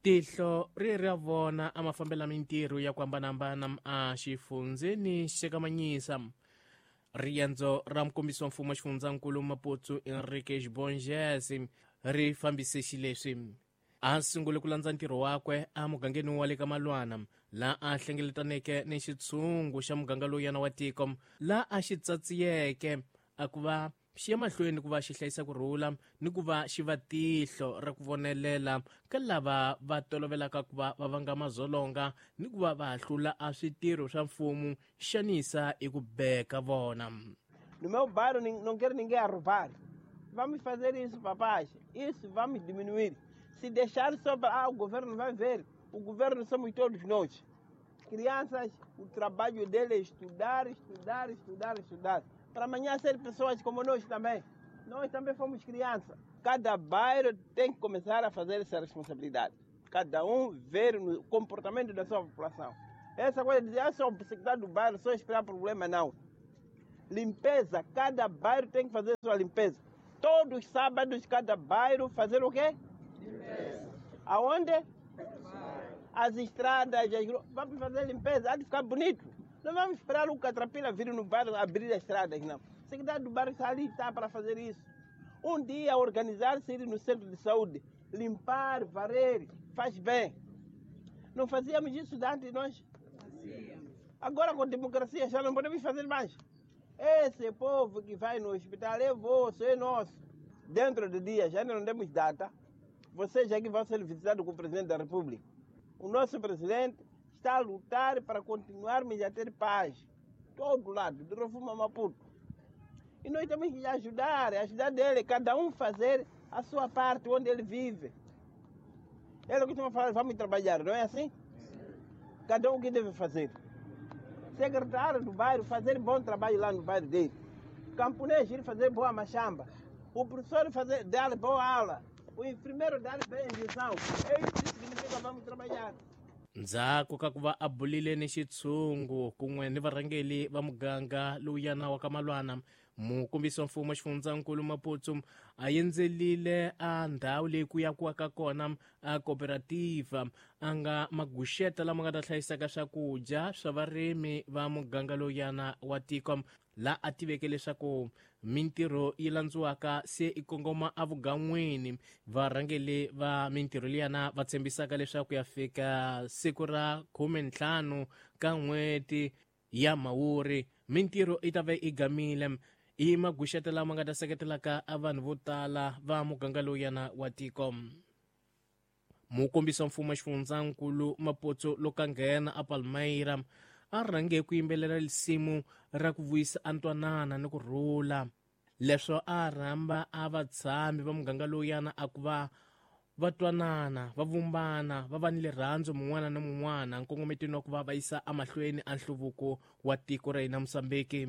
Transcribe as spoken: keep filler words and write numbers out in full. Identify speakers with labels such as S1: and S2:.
S1: Tihlo ri ri vona a mafambela mintirho ya ku hambanahambana a xifundzeni xa ka Manyisa. Riendzo ra mukombisi wa mfumo wa xifundzankulu Maputo Enrique Borges ri fambise xileswi. A sungule ku landza ntirho wakwe emugangeni wa le ka Malwana, laha a hlengeletaneke ni xitshungu xa muganga lowuyana wa tiko, laha a xi tsatsiyeke a ku va xi ya mahlweni ku va xi hlayisa ku rhula ni ku va xi va tihlo ra ku vonelela ka lava va tolovelaka ku va va vanga mazolonga ni ku va va hlula a switirho swa mfumo xanisa hi ku beka vona.
S2: No meu bairro não quero ninguém a roubar. Vamos fazer isso, papás. Isso vamos diminuir. Se deixar só para ah, o governo vai ver. O governo somos todos nós. Crianças, o trabalho deles é estudar, estudar, estudar, estudar. Para amanhã ser pessoas como nós também. Nós também fomos crianças. Cada bairro tem que começar a fazer essa responsabilidade. Cada um ver o comportamento da sua população. Essa coisa de dizer, ah, sou o secretário do bairro, só esperar problema, não. Limpeza, cada bairro tem que fazer sua limpeza. Todos os sábados, cada bairro fazer o quê? Limpeza. Aonde? As estradas, as... vamos fazer limpeza, há de ficar bonito. Não vamos esperar o catrapila vir no bairro abrir as estradas, não. O secretário do bairro está ali, está para fazer isso. Um dia organizar-se, ir no centro de saúde, limpar, varrer, faz bem. Não fazíamos isso antes nós? Agora com a democracia já não podemos fazer mais. Esse povo que vai no hospital é vosso, é nosso. Dentro de dias, já não temos data, vocês aqui vão ser visitados com o presidente da República. O nosso presidente está a lutar para continuarmos a ter paz. Todo lado, de Rovuma a Maputo. E nós temos que ajudar, ajudar dele, cada um fazer a sua parte, onde ele vive. Ele costuma falar, vamos trabalhar, não é assim? Cada um o que deve fazer. Secretário do bairro, fazer bom trabalho lá no bairro dele. Camponês ir fazer boa machamba. O professor fazer, dar boa aula. O enfermeiro dar bem injeção. É isso que significa vamos trabalhar.
S1: Ndzhaku ka ku va a bulile ni xitshungu kun'we ni varhangeli va muganga lowuyana wa ka Malwana, mukombisi wa mfumo xifundzankulu Maputo a endzelile a ndhawu leyi ku yakiwaka kona a cooperativa a nga maguxeta lama nga ta hlayisaka swakudya swa varimi va muganga lowuyana wa tiko, laha a tiveke leswaku mintirho yi landziwaka se i kongoma evugan'wini. Varhangeli va mintirho liyana va tshembisaka leswaku ya fika siku ra khumentlhanu ka n'hweti ya Mhawuri mintirho yi ta va yi gamile. I maguxeta lama nga ta seketelaka a vanhu vo tala va muganga lowuyana wa tiko. Mukombisi wa mfumo xifundzankulu Maputo loko a nghena a Palmyra a rhange ku yimbelela risimu ra ku vuyisa antwanana ni ku rhula. Leswo a rhamba a vatshami va muganga lowuyana a ku va va twanana, va vumbana, va va ni rirhandzu mun'wana na mun'wana nkongometweni wa ku va va yisa emahlweni a nhluvuko wa tiko ra hina Mozambique.